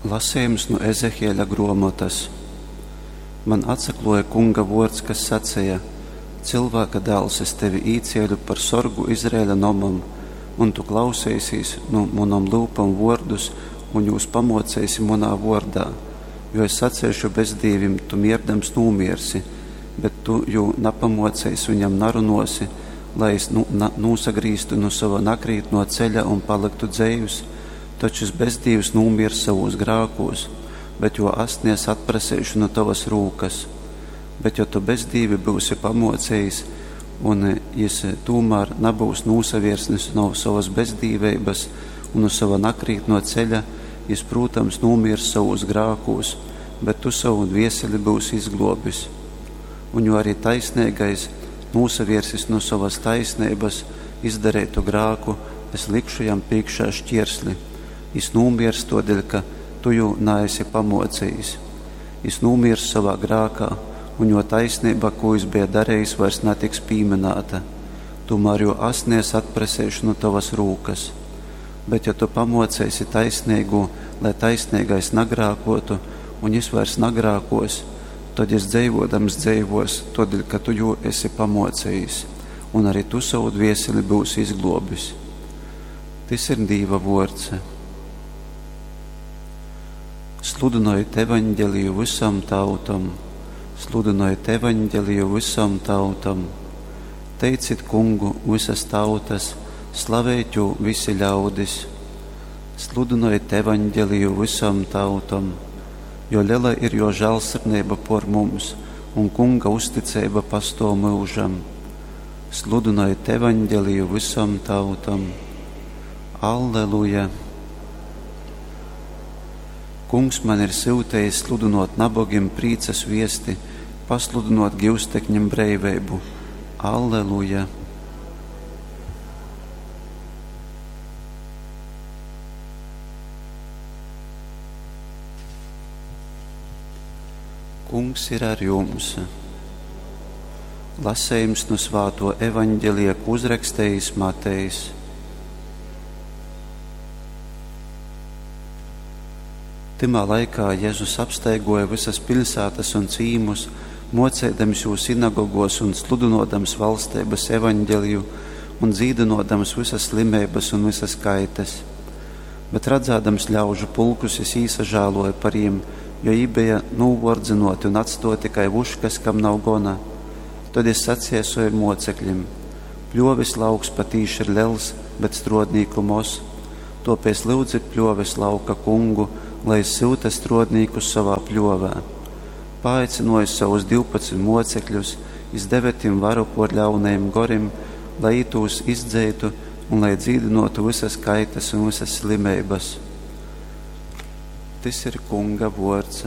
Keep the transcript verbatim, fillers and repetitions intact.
Lasejums nu Ezehieļa gruomotas. Man atsakluoja Kunga vuords, kas saceja: Cylvāka dāls, es tevi īcieļu par sorgu Izraeļa nomam, un tu klauseisīs nu munom lyupom vuordus un jūs pamuoceisi munā vuordā. Jo es saceišu bezdīvim, tu mierdams nūmiersi, bet tu jū napamuoceisi un jam narunuosi, lai jis nu, na, nūsagrīztu nu sova nakrītnuo ceļa un palyktu dzeivs, tod šys bezdīvs nūmiers sovūs grākūs, bet juo asni es atpraseišu nu tovas rūkas. Bet jo tu bezdīvi byusi pamuocejis, un jis tūmār nabyus nūsaviersnis no sovas bezdīveibas un nu sova nakrītnuo ceļa, jis, prūtams, nūmiers sovūs grākūs, bet tu sovu dvieseli byusi izgluobis. Un jo arī taisneigais nūsaviersis nu sovas taisneibas, izdareitu grāku, es likšu jam prīškā šķiersli. Jis nūmiers tuodeļ, ka tu jū naesi pamuocejis. Jis nūmiers sovā grākā, un juo taisneiba, kū jis beja darejis, vairs natiks pīmynāta. Tūmār juo asni es atpraseišu nu tovas rūkas. Bet ja tu pamuoceisi taisneigū, lai taisneigais nagrākuotu, un jis vairs nagrākuos, tod jis dzeivuodams dzeivuos, tuodeļ, ka tu jū esi pamuocejis, un arī tu sovu dvieseli byusi izgluobis. Tys ir Dīva vuords. Sludynojit evaņgeliju vysom tautom, sludynojit evaņgeliju vysom tautom. Teicit Kungu vysas tautas, slavejit jū visi ļaudis. Sludynojit evaņgeliju vysom tautom, jo lela ir juo žālsirdneiba por mums, un Kunga uzticeiba pastuov myužam. Sludynojit evaņgeliju vysom tautom. Alleluja! Kungs man ir syutejis sludynuot nabogim prīcas viesti, pasludynuot gyustekņim breiveibu. Alleluja! Kungs ir ar jums! Lasejums nu svātuo evaņgelija, ko uzrakstejis Matejs. Tymā laikā Jezus apstaiguoja vysas piļsātas un cīmus, muoceidams jūs sinagoguos un sludynuodams valsteibas evaņgeliju un dzīdynuodams vysas slimeibas un vysas kaites. Bet radzādams ļaužu pulkus, jis īsažāluoja par jim, jo jī beja nūvuordzynuoti un atstuoti kai vuškas, kam nav gona. Tod jis saceja sovim muocekļim: Pļuovis lauks patīši ir lels, bet struodnīku moz. Tuopēc lyudzit pļuovis lauka kungu, lai jis syuta struodnīkus sovā pļuovē. Paaicynuojis sovus divpadsmit muocekļus, jis deve tim varu puor ļaunajim gorim, lai jī tūs izdzeitu un lai dzīdynuotu vysas kaites un vysas slimeibas. Tys ir Kunga vuords.